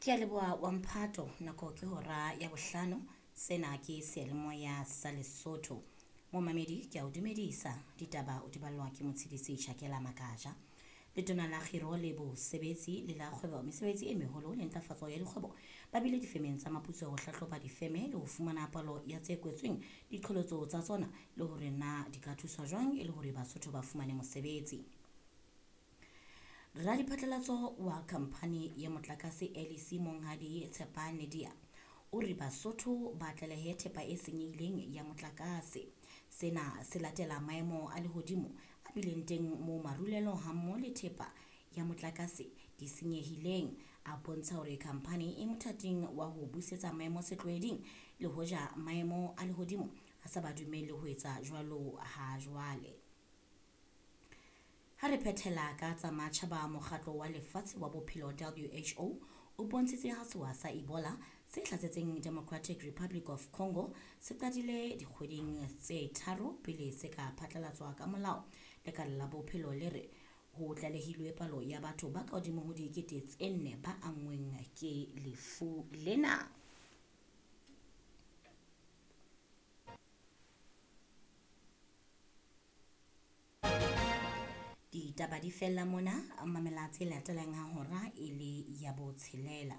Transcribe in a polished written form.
Ke a leboha wa mphato nako ke hora ya bohlano sena ke seyalemoya sa Lesotho. Momamedi ke a o dumedisa ditaba o di ballwa ke Motshidisi Chakela Makaja. Letona la Kgiro le Bosebetsi le la Kgwebo, Mesebetsi e Meholo le Ntlafatso ya Dikgwebo ba bile difemeng tsa maputso ho hlahloba difeme le ho fumana palo ya tse kwetsweng, diqholotso tsa tsona le hore na di ka thuswa jwang e le hore Basotho ba fumane mosebetsi. Radiphatlalatso wa khamphani ya motlakase LEC Monghadi Tshepane Dia o re Basotho ba tlalehe thepa e senyehileng ya motlakase. Sena se latela maemo a lehodimo a bileng teng moo marulelo hammoho le thepa ya motlakase di senyehileng, a bontsha hore khamphani e mothating wa ho busetsa maemo setlwaeding le hoja maemo a lehodimo a sa ba dumelle ho etsa jwalo ha jwale. Ha re phethela ka tsa matjhaba, mokgatlo wa lefatshe wa bophelo WHO o bontshitse ha sewa sa Ebola se hlasetseng Democratic Republic of Congo se qadile dikgweding tse tharo pele se ka phatlalatswa ka molao. Lekala la bophelo le re ho tlalehilwe palo ya batho ba ka hodimo ho dikete tse nne ba anngweng ke lefu lena. Ditaba di fella mona, mamela tse latelang ha hora e le ya botshelela.